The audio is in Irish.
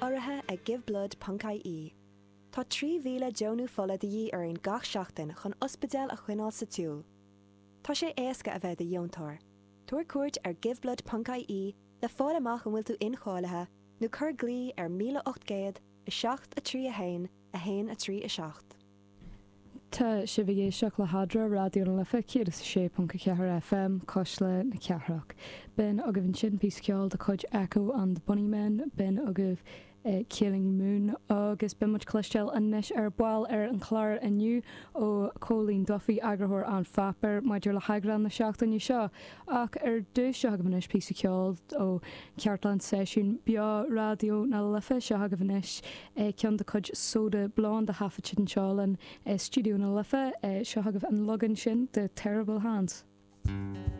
Urraithe ag Giveblood ponc ie. Tá 3,000 deonú fola de dhíth orainn gach seachtain chun ospidéil a choinneáil sa tsiúl. Tá sé éasca a bheith i do dheontóir. Tabhair cuairt ar giveblood ponc ie le fáil amach an bhfuil tú incháilithe nó cuir glao ar 1800 7 3 1 1 3 7. Tá sibh ag éisteacht le hEadra, Raidió na Life 106.4 FM, Cuisle na Cathrach. B'in agaibh ansin píosa ceoil de chuid Echo and the Bunnymen, b'in agaibh Killing Moon agus beidh muid cloisteáil anois ar ball ar an chlár inniu ó Chóilín Duffy, eagarthóir An Pháipéir, maidir le heagrán na seachtaine seo. Ach ar dtús, seo agaibh anois píosa ceoil ó Chartlann Seisiún Beo Raidió na Life. Seo agaibh anois ceann de chuid Soda Blonde a thaifead siad anseo linn i Stiúideo na Life. Seo agaibh an leagan sin de Terrible Hands.